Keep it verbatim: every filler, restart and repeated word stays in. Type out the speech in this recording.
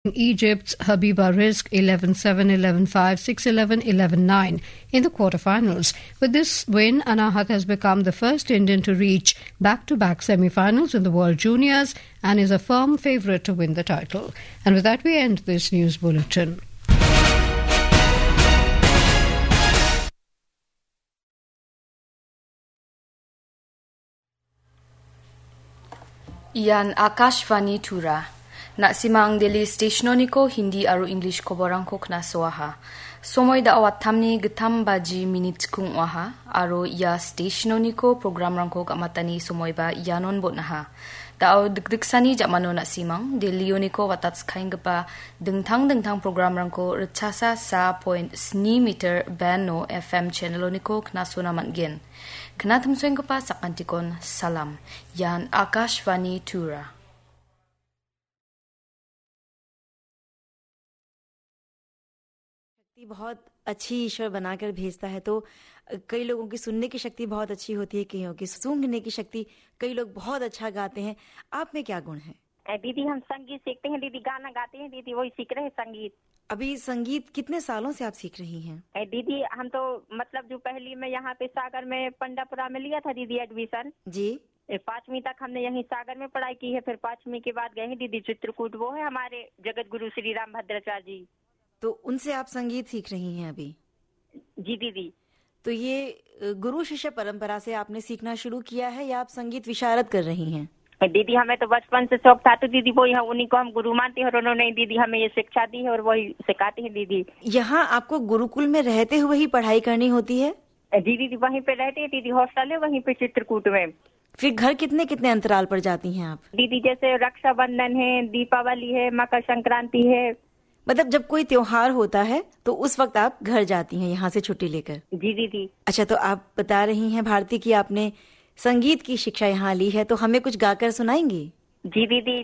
Egypt's Habiba Rizk eleven seven, eleven five, six eleven, eleven nine in the quarterfinals. With this win, Anahat has become the first Indian to reach back-to-back semi-finals in the World Juniors and is a firm favourite to win the title. And with that, we end this news bulletin. Ian Akashvani Tura. Na·simang Delhi stationoniko Hindi aro English koborangko knasoaha. Somoi da·o wattamni gittam baji minit kung oaha, aro ia stationoniko programrangko gamatani somoiba ianon bon·aha. Da·o dikdiksani jamano na·simang Delhioniko watatskaenggipa dingtang dingtang programrangko ritchasa sa point sni meter band-o F M channeloniko knasona man·gen. Knatimsoenggipa sakantikon salam. Ian Akashvani Tura. शक्ति बहुत अच्छी ईश्वर बनाकर भेजता है, तो कई लोगों की सुनने की शक्ति बहुत अच्छी होती है, कईयों की सूंघने की शक्ति कई लोग बहुत अच्छा गाते हैं। आप में क्या गुण है? ए, दीदी, हम संगीत सीखते हैं दीदी, गाना गाते हैं दीदी, वही सीख रहे हैं संगीत। अभी संगीत कितने सालों से आप सीख रही हैं? ए, दीदी, हम तो मतलब जो पहली मैं यहाँ पे सागर में पंडापुरा में लिया था दीदी एडमिशन। जी। ए, पाँचवीं तक हमने यहीं सागर में पढ़ाई की है, फिर पाँचवीं के बाद गए हैं दीदी चित्रकूट, वो है हमारे जगत गुरु श्री राम भद्राचार्य जी। तो उनसे आप संगीत सीख रही हैं अभी? जी दीदी। तो ये, अ, गुरु शिष्य परंपरा से आपने सीखना शुरू किया है या आप संगीत विशारद कर रही हैं? दीदी, हमें तो बचपन से शौक था, तो दीदी, वो यहाँ उन्हीं को हम गुरु मानते हैं और उन्होंने ही दीदी हमें ये शिक्षा दी है और वही सिखाते हैं दीदी। यहाँ आपको गुरुकुल में रहते हुए ही पढ़ाई करनी होती है? जी दीदी, वहीं पे रहते हैं दीदी, हॉस्टल है वहीं पे चित्रकूट में। फिर घर कितने कितने अंतराल पर जाती हैं आप? दीदी, जैसे रक्षाबंधन है, दीपावली है, मकर संक्रांति है। मतलब, जब कोई त्योहार होता है तो उस वक्त आप घर जाती हैं यहाँ से छुट्टी लेकर? जी दीदी। अच्छा, तो आप बता रही हैं भारती कि आपने संगीत की शिक्षा यहाँ ली है, तो हमें कुछ गाकर सुनाएंगी? जी दीदी।